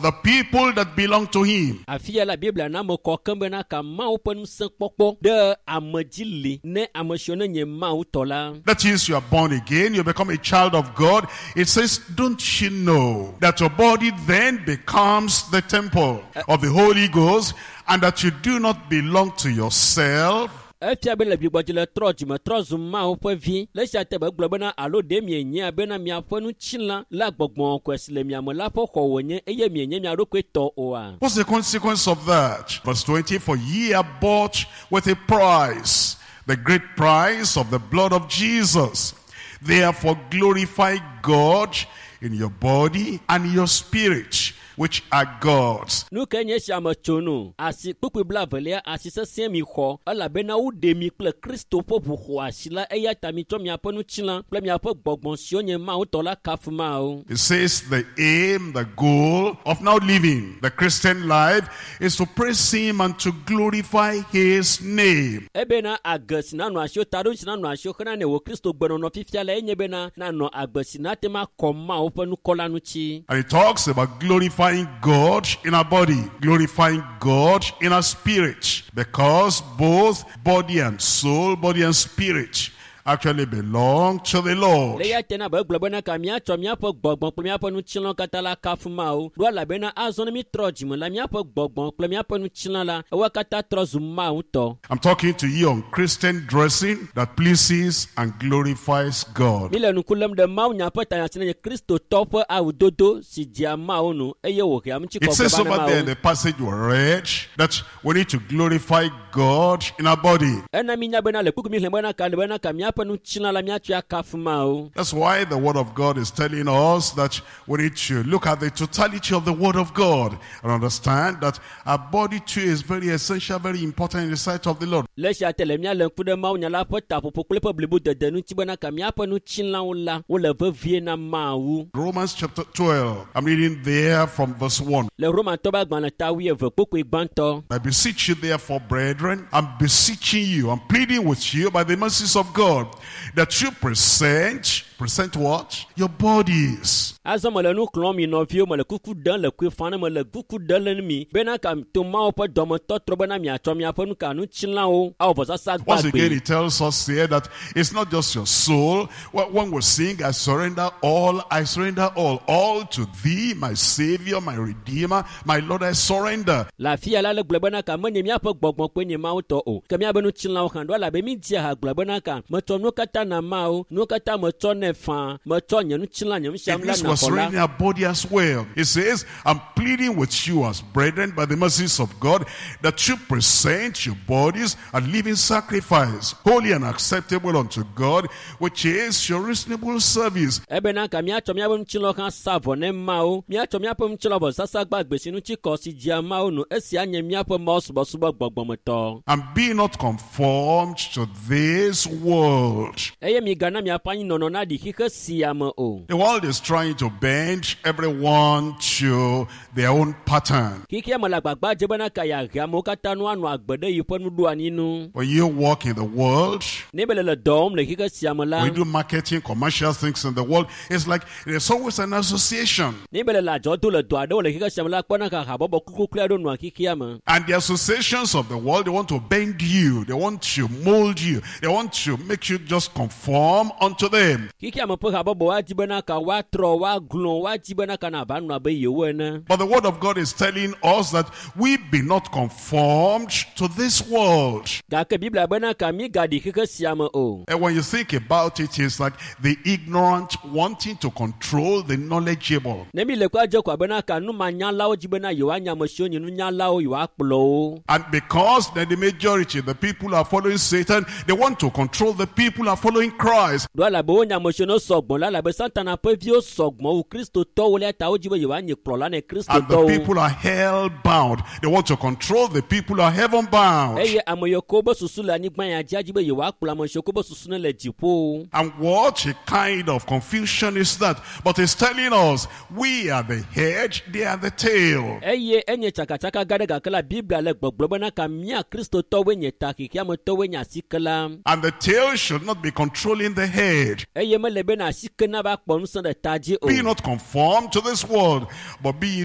the people that belong to him. Afi ya la Biblia na ame kɔ keŋ bena ka Mawu ƒe ŋusẽ kpɔkpɔ ɖe ame dzi li ne ame siwo ne nye Mawu tɔ la. That is, you are born again, you become a child of God. It says, don't you know that your body then becomes the temple of the Holy Ghost, and that you do not belong to yourself? Efia be le gbigbɔdzi le trɔ dzime trɔ zu Mawu ƒe vi. Le esia te be gblɔ bena alo ɖe mienyae bena miaƒe ŋutilã la gbɔgbɔ kɔkɔe si le mia me la ƒe xɔ wònye eye mienye mia ɖokui tɔ oa? What's the consequence of that? Verse 20, for ye are bought with a price, the great price of the blood of Jesus. Therefore glorify God in your body and your spirit, which are God's. Nu ke nye esia me tso nu? Asi kpukpui 22 asi sesẽ mi xɔ elabena woɖe mi kple Kristo ƒe ʋu xɔ asi la eya ta mitsɔ miaƒe ŋutilã kple miaƒe gbɔgbɔ siwo nye Mawu tɔ la kafu Mawu. It says the aim, the goal of now living the Christian life is to praise him and to glorify his name. Ebena age si nanɔ asiwò taɖo si nanɔ asiwò xena ne wò Kristo gbenɔnɔ fifia la enye bena nanɔ agbe si nate ma kɔ Mawu ƒe ŋkɔ la ŋuti. And it talks about glorifying God in our body, glorifying God in our spirit, because both body and soul, body and spirit actually belong to the Lord. Le ya tena be gblɔ bena ka míatsɔ míaƒe gbɔgbɔ kple míaƒe ŋutilã katã la kafu Mawu. Ɖo elabena azɔ ne mítrɔ dzime la míaƒe gbɔgbɔ kple míaƒe ŋutilã la ewo katã trɔ zu Mawu tɔ. I'm talking to you on Christian dressing that pleases and glorifies God. Mi le ŋku lém ɖe Mawu nya ƒe tanya si nye Kristotɔ ƒe awudodo si dzea Mawu nu eye wòhea It says ŋutikɔkɔe va over na there in Mawu. the passage we read that we need to glorify God in our body. Ena mínya bena le kpukpui mi xlẽ bena ka le bena ka míaƒe ŋutilã la míatsɔe akafu Mawu. That's why the Word of God is telling us that we need to look at the totality of the Word of God and understand that our body too is very essential, very important in the sight of the Lord. Le esia te le míalé ŋku ɖe Mawu nya la ƒe taƒoƒo kple eƒe blibodede ŋuti bena ka míaƒe ŋutilãwo la wole vevie na Mawu. Romans chapter 12, I'm reading there from verse 1. Le Romatɔ ƒe agbalẽ ta 12 kpukpui gbãtɔ. I beseech you therefore, brethren, I'm beseeching you, I'm pleading with you by the mercies of God, that you present what? Your bodies. Azɔ mele nu xlɔ̃m mi nɔviwo mele kuku ɖem le kuifa ne mele kuku ɖem le mi bena ka to Mawu ƒe dɔmetɔtrɔ bena miatsɔ miaƒe nu ka ŋutilãwo awɔ vɔsasa Once again, gbagbe. it tells us here that it's not just your soul. Well, when we sing, I surrender all, I surrender all to thee, my Savior, my Redeemer, my Lord, I surrender. Le afi ya la le gblɔ bena ka menye míaƒe gbɔgbɔ koe nye Mawu tɔ o, ke míaƒe ŋutilãwo hã ɖo elabe mídzia ha gblɔ bena ka metsɔ nuwo katã na Mawu, nuwo katã metsɔ nɛ faa, metsɔ nye ŋutilã nye It nusianu la means na we're xɔ la. surrendering our body as well. It says, I'm pleading with you as brethren by the mercies of God that you present your bodies a living sacrifice, holy and acceptable unto God, which is your reasonable service. Ebena ka míatsɔ míaƒe ŋutilã hã sa vɔ ne Mawu, míatsɔ míaƒe ŋutilã vɔsasa gbagbe si ŋuti kɔ si dzea Mawu nu, esia nye míaƒe Mawu subɔsubɔ gbɔgbɔmetɔ. And be not conformed to this world. Eye migana miaƒe anyinɔnɔ naɖi xixe sia me o. The world is trying to bend everyone to their own pattern. Xixia me le agbagba dze bena ka yeahe amewo katã nu anɔ agbe ɖe yiƒe nuɖoanyi nu. When you walk in the world, Ne be le le dɔ wɔm le xixe sia me la, when you do marketing, commercial things in the world, it's like there's always an association. ne be le le adzɔ do le dɔ aɖewo le xixe sia me la, kpɔna ka habɔbɔ kukluklu aɖewo nɔa xixia me. And the associations of the world, they want to bend you. They want to mold you. They want to make you just conform unto them. Xixia me ƒe habɔbɔ woadi bena ka woatrɔ, woaglɔ̃, woadi bena ka nava nɔ abe yewo ene. But the word of God is telling us that we be not conformed to this world. Gake Biblia bena ka mígaɖi xixe sia me o. And when you think about it, it's like the ignorant wanting to control the knowledgeable. Ne mi le kɔa dze ko abena ka numanyalawo dzi bena yewoanya ame siwo nye nunyalawo yewoakplɔ wo. And because then the majority, the people are following Satan, they want to control the people who are following Christ. Ɖo elabe wonye ame siwo ne sɔgbɔ la elabe Satana ƒe viwo sɔgbɔ wu Kristotɔwo le ta wodzi be yewoanye kplɔla ne And the Kristotɔwo. people are hell bound. They want to control the people who are heaven bound. Eye ame yiwo ke wobe susu le anyigba ya dzi adzi be yewoakplɔ ame siwo ke wobe susu ne le dziƒo. And what a kind of confusion is that? But it's telling us we are the head, they are the tail. Eye enye tsakatsaka gã ɖe gake la Biblia le gbɔgblɔ bena ka mía Kristotɔwoe nye ta xexeametɔwoe nye asike la. And the tail should not be controlling the head. Eye mele bena asike nava kpɔ ŋusẽ ɖe ta dzi o. Be not conformed to this world, but be ye